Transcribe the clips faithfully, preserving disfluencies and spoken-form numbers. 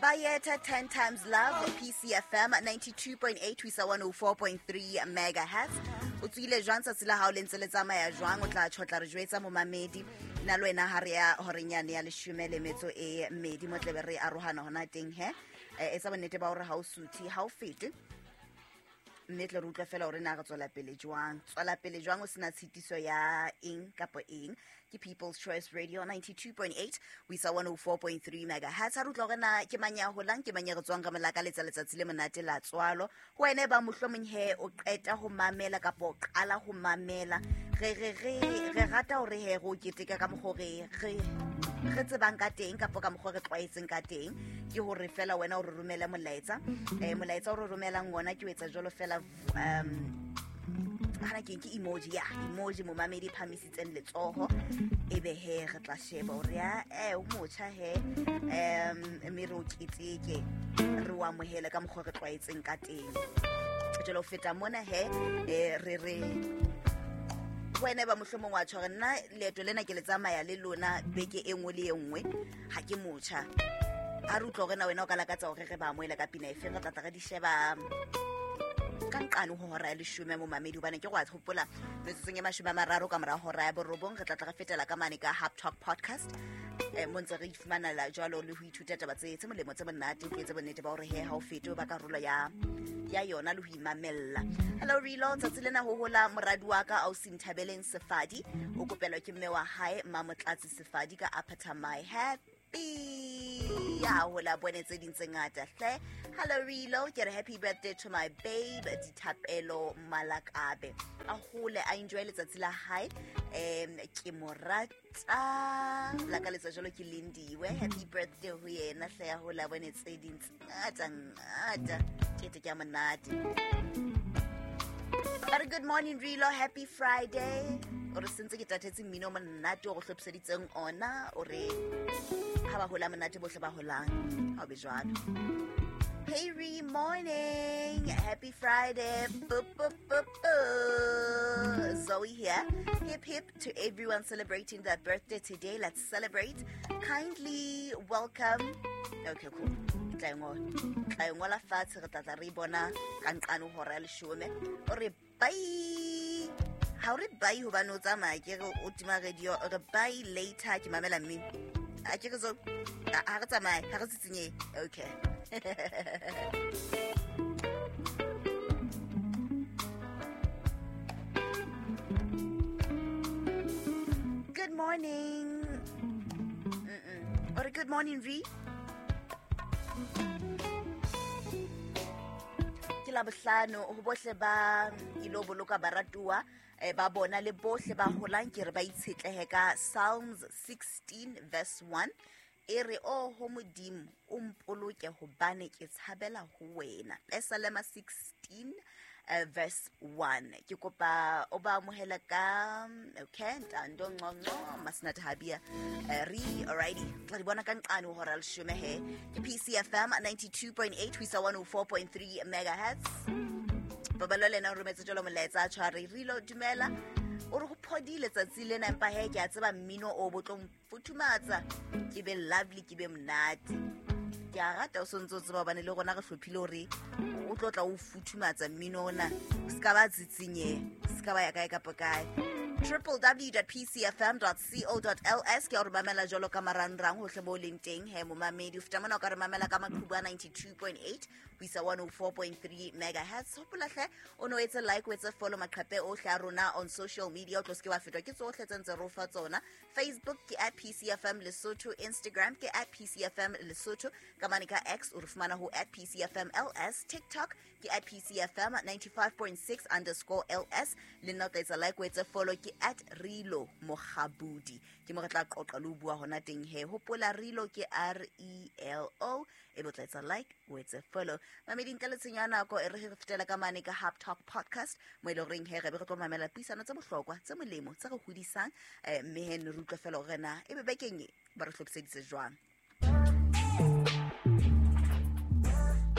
Bayeta ten times love, P C F M ninety-two point eight ho isa one oh four point three megahertz. O tswile jwang tsatsi la hao le ntse le tsamaya jwang? O tla tjhotla re jwetsa momamedi. Nna le wena ha re ya horeng yane ya leshome le metso e mmedi mo tlebe re arohana hona teng he. Eh, etsa bonnete ba hore ha o suthe, ha o fete. Mme tle re utlwe fela hore na re tswela pele jwang. Tswela pele jwang o sena tshitiso ya eng kapa eng. Ke People's Choice Radio ninety-two point eight ho isa one oh four point three megahertz. Ha re utlwa hore na ke mang ya holang, ke mang ya re tswang ka molaka letsa letsatsi le monate la tswalo. Ho wena e ba mohlomong he o qeta ho mamela kapa o qala ho mamela. Re re re re rata hore he re o keteka ka mokgwa re re re tsebang ka teng kapa ka mokgwa re tlwaetseng ka teng. Ke hore fela wena o re romele molaetsa. Eh, molaetsa o re romelang wona ke o etsa jwalo fela, um, hana ke ke emoji ya emoji momamedi phamisitseng letsoho ebe he re tla sheba hore ya eh o motjha he um mme re o keteke re o amohele ka mokgwa re tlwaetseng ka teng. Jwale ho feta mona he eh, re re wena ba mohlomong wa tjho hore nna leeto lena ke le tsamaya le lona beke e nngwe le e nngwe, ha ke motjha. Ha re utlwa hore na wena o ka lakatsa hore re ba amohele ka pina efe, re tla tla re di sheba ka nqane ho hora ya leshome momamedi, hobane ke go a hopola metsotsong e mashome a mararo ka mora hora ya borobong re tla tla re fetela ka mane ka Hub Talk Podcast. Eh, mo ntse re ifumanela jwalo le ho ithuta taba tse tse molemo tse monate, o etse bonnete ba hore he ha o fete o ba karolo ya ya yona le ho imamella. Hello Relo, tsatsi lena ho hola moradi wa ka ausi Nthabeleng Sefadi, o kopelwa ke mme wa hae Mamotlatsi Sefadi ka Upper My Happy. Ya hola bone tse ding tse ngata hle. Hello Relo, ke re happy birthday to my babe Dithapelo Malakabe. A hole a enjoy letsatsi la hae. Em ke mo rata. La ka letsa jalo ke Lindiwe. Happy birthday ho yena hle, ya hola bone tse ding tse ngata ngata. Ke te ke monate. But good morning Relo, happy Friday. O re sentse ke tatetse mmino o monate o go hlophiseditseng ona, o re ha ba hola monate bohle ba holang, ha o be jwalo. Hey Re, morning, happy Friday. Boop, boop, boop, boop. Zoe here. Hip hip to everyone celebrating their birthday today. Let's celebrate. Kindly welcome. Okay, cool. Tla ngola. Tla ngola fatshe re tla tla re bona ka nqane hora ya leshome. O re bye. Ha o re bye hobane o tsamaya ke re o tima radio, o re bye later ke mamela mmino. A ke re zo ha re tsamaye, ha re tsitsinye. Okay. Good morning. Mm-mm. Or good morning, Re. Ke la bohlano ho bohle ba ilo boloka baratuwa eh, ba bona le bohle ba holang ke re ba itshetlehe ka Psalms sixteen verse one. E re o ho Modimo o mpoloke hobane ke tshabela ho wena. Pesalema sixteen uh, verse one. Ke kopa o ba amohela ka okay Ntando Nqonqo Masnat Habia uh, re alrighty. Tla di bona ka nqane ho hora leshome he. Ke P C F M ninety-two point eight ho isa one oh four point three megahertz. Babalo lena o rometse jalo molaetsa a tshware Relo dumela. O re ho phodile tsatsi lena empa he ke a tseba mmino o botlong futhumatsa ke be lovely ke be monate. Ke a rata o sontso o tseba hobane le rona re hlophile hore o tlo tla o futhumatsa mmino ona o ska ba tsitsinye ska ba ya kae kapa kae. w w w dot p c f m dot co dot l s ke o re mamela jwalo ka marangrang hohle mo leng teng he momamedi. O feta mona o ka re mamela ka maqhubu a ninety-two point eight ho isa one oh four point three megahertz. Hopola hle o no etse like o etse follow maqhepe ohle a rona on social media, o tlo se ke wa fetwa ke tsohle tse ntse re o fa tsona. Facebook ke at P C F M Lesotho, Instagram ke at P C F M Lesotho, ka mane ka X o re fumana ho at P C F M L S, TikTok ke at P C F M ninety-five point six underscore L S. Le nna o tla etsa like o etse follow ke at Relo Mokgabudi. Ke mo re tla qoqa le ho bua hona teng he. Hopola Relo ke R E L O, e bo tla etsa like o etse follow. Mamedi ntle le tshenyo ya nako e re re fetela ka mane ka Hub Talk Podcast mo e leng horeng he re be re tlo mamela puisano tse bohlokwa tse molemo tse re hodisang eh, mme he ne re utlwe fela hore na ebe bekeng e ba re hlophiseditse jwang.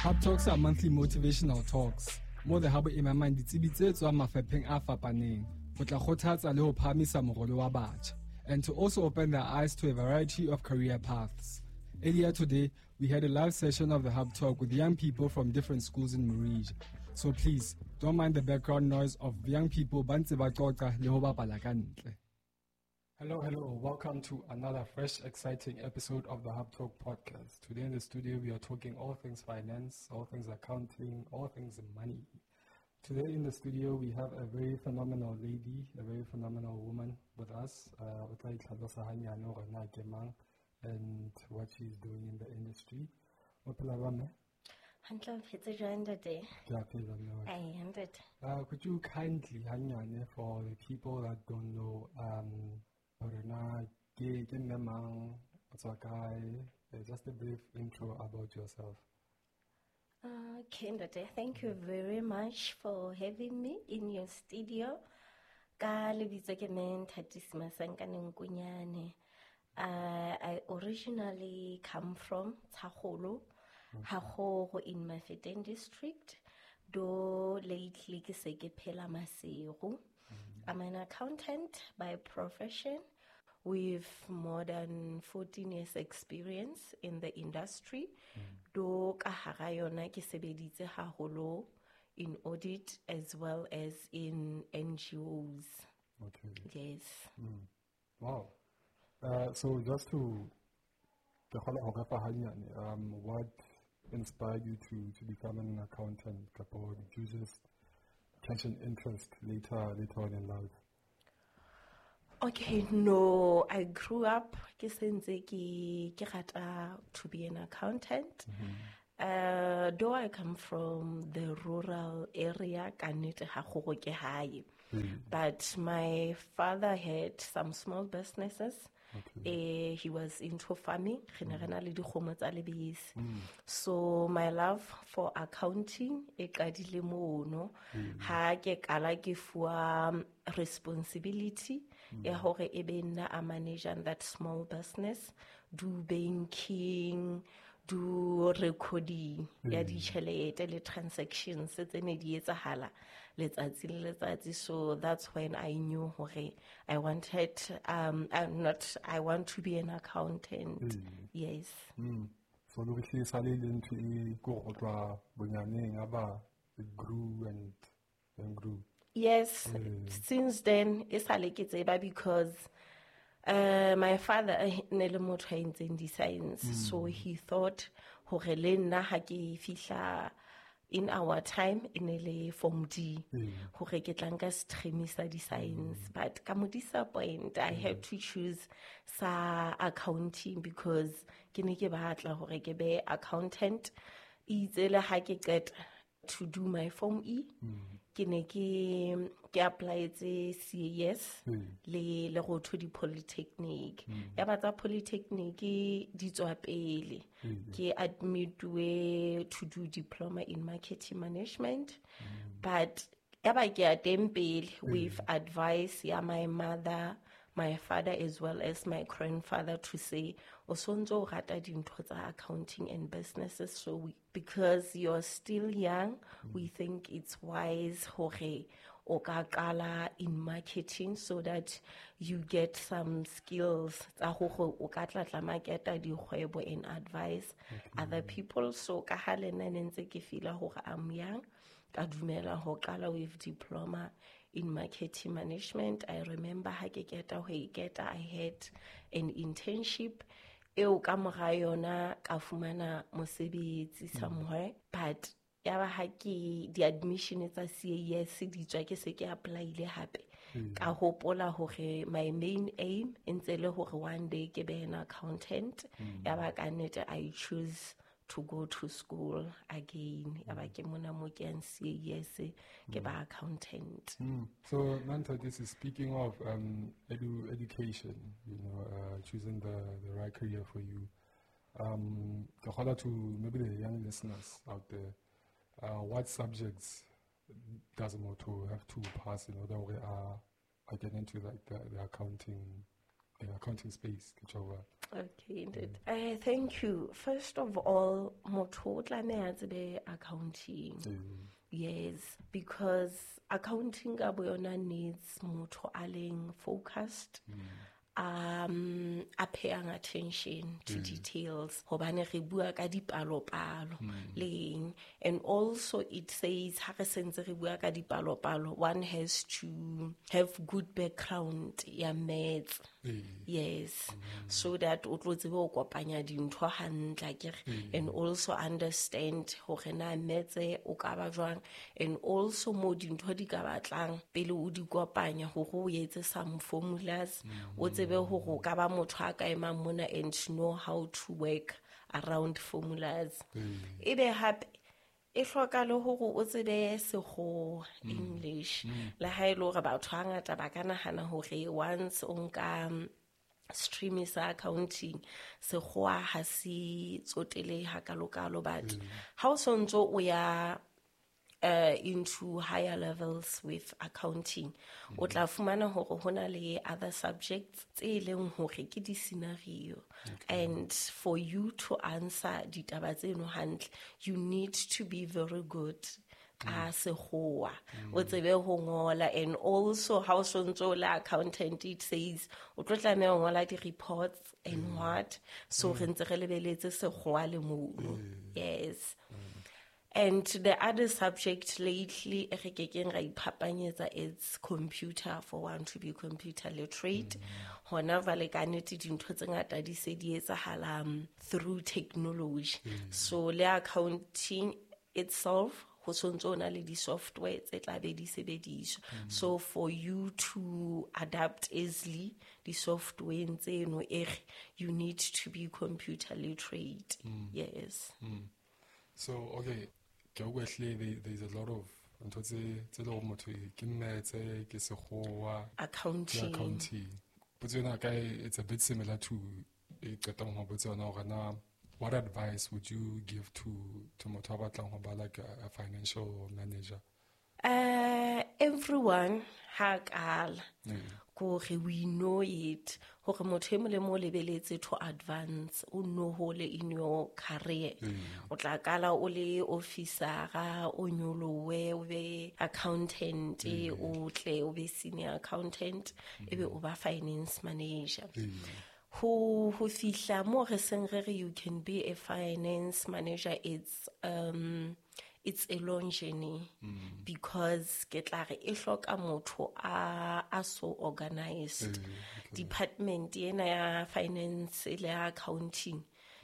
Hub Talks are monthly motivational talks mo the hub e mamang ditsebi tse tswang mafapheng a fapaneng ho tla kgothatsa le ho phahamisa morolo wa batjha, and to also open their eyes to a variety of career paths. Earlier today, we had a live session of the Hub Talk with young people from different schools in Morija. So please, don't mind the background noise of young people ba ntse ba qoqa le ho bapala ka ntle. Hello, hello. Welcome to another fresh, exciting episode of the Hub Talk podcast. Today in the studio, we are talking all things finance, all things accounting, all things money. Today in the studio, we have a very phenomenal lady, a very phenomenal woman with us. Uh, o tla itlhalosa hanyane hore na ke mang and what she's doing in the industry. O phela jwang, mme? Hantle, o phetse jwang, ntate? Ke a phela, mme wa ka. Ai, ntate. Uh, could you kindly, hanyane, for the people that don't know, um, hore na ke, ke mme mang, o tswa kae, uh, just a brief intro about yourself. Okay, ntate, thank you very much for having me in your studio. Ka lebitso ke mme Nthatisi Masankane Nkunyane. Uh, I originally come from Tshakgolo, Haholo in Mafeteng district, though lately ke se ke phela Maseru. I'm an accountant by profession with more than fourteen years experience in the industry. Though ka hara yona ke sebeditse haholo in audit as well as in N G Os. Okay. Yes. Mm. Wow. Uh, so just to ke kgona ho refa hanyane, um, what inspired you to, to become an accountant? Kapo did you just catch an interest later, later on in life? Okay, no, I grew up ke sentse ke, ke rata to be an accountant. Mm-hmm. Uh, though I come from the rural area, ka nnete ha go go ke hae. Mm. But my father had some small businesses. Okay. Uh, he was into farming. Re ne re na le dikgomo tsa lebese. Mm. So my love for accounting e qadile mono. Mm. Ha ke qala ke fuwa responsibility Mm. ya hore e be nna a manager that small business, do banking, do recording ya Mm. ditjhelete le transactions tse ne di etsahala letsatsi le letsatsi. So that's when I knew hore I wanted, um, I'm not, I want to be an accountant. Mm. Yes. Mm. So lo re sale le ntho e ko go tloha bonyaneng ya ba it grew and, and grew. Yes, Mm. since then e sale ke tseba because, uh, my father ne le motho a entseng di-science. Mm. So he thought hore le nna ha ke fihla in our time e ne le form D, Mm. hore ke tla nka stream sa di-science. Mm. But ka mo disappoint, I had Mm. to choose sa accounting because ke ne ke batla hore ke be accountant. E itse le ha ke qeta to do my form E, Mm. ke ne ke, ke apply-etse C A S Mm. le, le go to di-polytechnic. Mm. Ya ba tsa polytechnic di tswa pele. Mm. Ke admit-uwe to do diploma in marketing management. Mm. But ya ba ke ya teng pele Mm. with advice ya my mother, my father as well as my grandfather to say, o sontso o rata dintho tsa accounting and businesses, so we, because you're still young, Mm. we think it's wise hore o ka qala in marketing so that you get some skills tsa hore o ka tla tla marketa dikgwebo and advise Okay. other people. So ka ha le nna ne ntse ke feela hore I'm young, ka dumela ho qala with diploma in marketing management. I remember ha ke keta ho e keta, I had an internship eo ka mora yona ka fumana mosebetsi Mm. somewhere, but ya ba ha ke di-admission tsa C A S di tswa ke se ke apply-ile hape. Mm. Ka hopola hore my main aim e ntse le hore one day ke be an accountant. Mm. Ya ba ka nnete I choose to go to school again. Ya ba ke mona mo ke yang C A S, ke ba accountant. Mm. So, Nanta, this is speaking of, um, edu-, education, you know, uh, choosing the, the right career for you. Um, ke kgolwa to maybe the young listeners out there, uh, what subjects does motho have to pass in order to uh, get into like the, the accounting, the accounting space? Ke tjho jwalo. Okay, indeed. Uh, thank you. First of all, motho o tlameha a tsebe accounting. Mm. Yes, because accounting ka boyona needs motho a leng focused, Mm. um a paying attention to mm. details hobane re bua ka dipalopalo leng, and also it says ha re sentse re bua ka dipalopalo, one has to have good background ya maths. Mm. Yes, mm. so that o tlo tsebe ho kopanya dintho hantle akere, Mm. and also understand hore na maths o ka ba jwang, and also mo dintho di ka batlang pele o di kopanya hore o etse some formulas, o tsebe hore o ka ba motho a ka emang mona and know how to work around formulas. Mm. Ebe hape e hloka le hore o tsebe sekgowa, English. Le ha e le hore batho hangata ba ka nahana hore once o nka stream sa accounting sekgowa ha se tsotele hakalokalo, but ha o sontso o ya uh, into higher levels with accounting, o tla fumana hore ho na le other subjects tse leng hore ke di-scenario, and for you to answer ditaba tseno hantle, you need to be very good ka sekgowa, o tsebe ho ngola. And also ha o sontso o le accountant, it says o tlo tlameha ho ngola di-reports and what, so re ntse re lebeletse sekgowa le mono. Yes. And the other subject lately, e re kekeng ra iphapanyetsa, it's computer, for one to be computer literate. Hona jwale ka nnete dintho tse ngata di se di etsahala, um, through technology. So le accounting itself, ho sontso o na le di-software tse tla be di sebediswa. So for you to adapt easily di-softwareng tseno, e re you need to be computer literate. Yes. Mm. So, okay, ke a utlwa ehlile there, there's a lot of ntho tse, tse leng hore motho ke maths, ke sekgowa, ke Accounting. accounting. Potso ena ka e, it's a bit similar to e qetang ho botsa yona hore na what advice would you give to, to motho a batlang ho ba like a, a financial manager? Uh, everyone ha kala Mm. kore we know it hore motho e mong le mong o lebeletse to advance, o no hole in your career. O tla kala o le officera, o nyolowe, o be accountant, o tle o be senior accountant, ebe o ba finance manager. Ho, ho fihla mo re seng re re you can be a finance manager, it's, um, it's a long journey, because ke tla re e hloka motho a, a so organized. Mm, okay. Department ena ya finance le ya accounting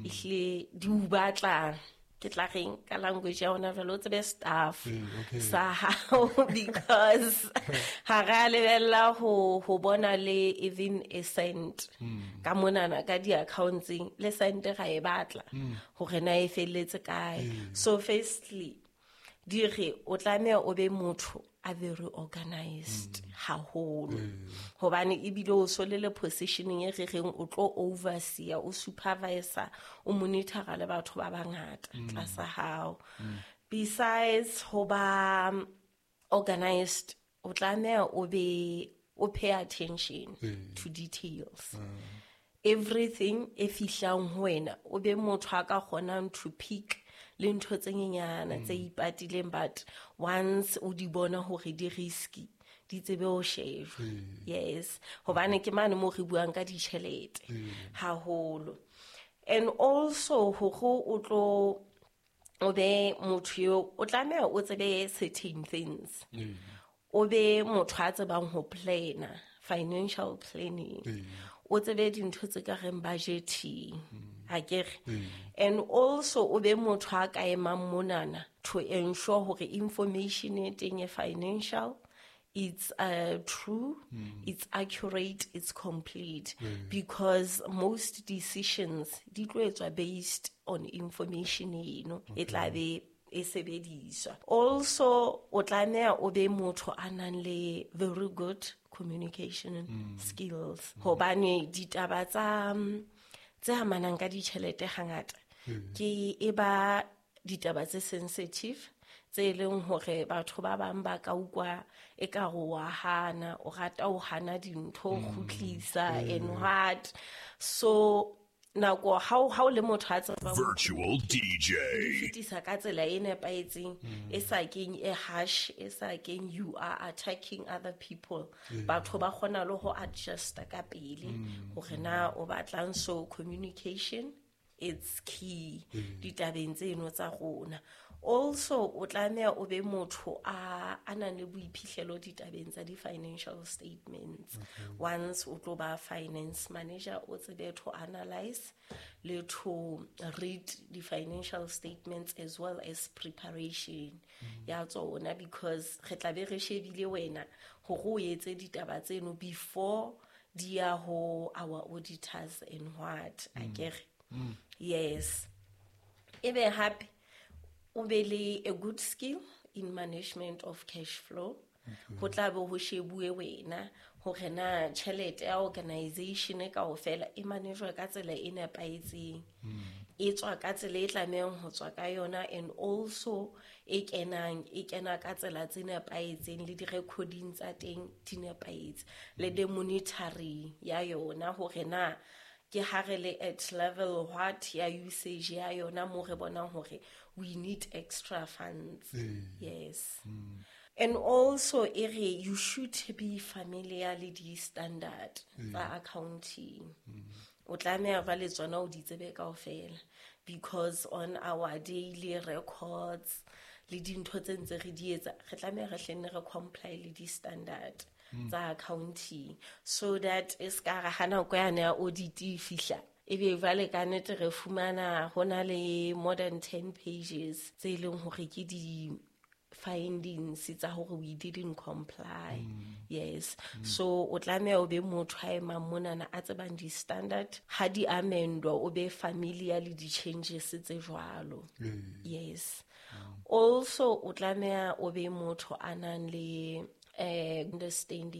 ehlile di o batla, ke tla reng ka language ya hona jwale, o tsebe staff Mm, okay. sa hao, because ha re a lebella ho, ho bona le even a cent ka monana ka di-accountseng, le cent ra e batla hore na e felletse kae. So firstly, di re o tlameha o be motho a very organized haholo, hobane ebile o so le le positioning e re reng o tlo overseer, o supervisor, o monitora le batho ba bangata tlasa hao. Besides ho ba organized, o tlameha o be o pay attention to details. Everything e fihlang ho wena, o be motho a ka kgonang to pick le ntho tse nyenyana tse ipatileng, but once o di bona hore di risky, di tsebe ho shejwa. Yes, hobane ke mane moo re buang ka ditjhelete haholo. And also hore o tlo o be motho eo, o tlameha o tsebe certain things. O be motho a tsebang ho planner, financial planning. O tsebe dintho tse ka reng budgeting, akere. And also o be motho a ka emang monana to ensure hore information e teng e financial, it's, uh, true, it's accurate, it's complete. Because most decisions di tlo etswa based on information eno e tla be e sebediswa. Also o tlameha o be motho a nang le very good communication skills, hobane ditaba tsa, tse amanang ka ditjhelete hangata ke e ba ditaba tse sensitive, tse leng hore batho ba bang ba ka utlwa ekare wa hana, o rata ho hana dintho, o kgutlisa and what. So Nako ha o ha o le motho a tsebang ho Virtual D J. fetisa ka tsela e nepahetseng, e sa keng e harsh, e sa keng you are attacking other people, batho ba kgona le ho adjusta ka pele hore na o batlang. So communication, it's key ditabeng tseno tsa rona. Also o tlameha o be motho a a nang le boiphihlelo ditabeng tsa di-financial statements. Once o tlo ba finance manager, o tsebe to analyze le to read the financial statements as well as preparation ya tsona, because re tla be re shebile wena hore o etse ditaba tseno before di ya ho our auditors and what, akere? Yes. Ebe hape o be le a good skill in management of cash flow. Ho tla be ho shebuwe wena hore na tjhelete ya organization kaofela e manejwa ka tsela e nepahetseng, e tswa ka tsela e tlamehang ho tswa ka yona, and also e kenang e kena ka tsela tse nepahetseng, le di-recording tsa teng di nepahetse, le the monitoring ya yona hore na ke ha re le at level what ya usage ya yona, mo re bonang hore we need extra funds. Yes. And also e re you should be familiar le di-standard tsa accounting. O tlameha ba le tsona, o di tsebe kaofela, because on our daily records le dintho tse ntse re di etsa, re tlameha re hlenne re comply le di-standard tsa accounting, so that e ska re ha nako yane ya audit e fihla, ebe jwale ka nnete re fumana ho na le more than ten pages tse leng hore ke di findings tsa hore we didn't comply. Yes. So o tlameha o be motho a emang monana a tsebang di-standard, ha di amendwa o be familiar le di-changes tse jwalo. Yes. Also o tlameha o be motho a nang le eh understanding.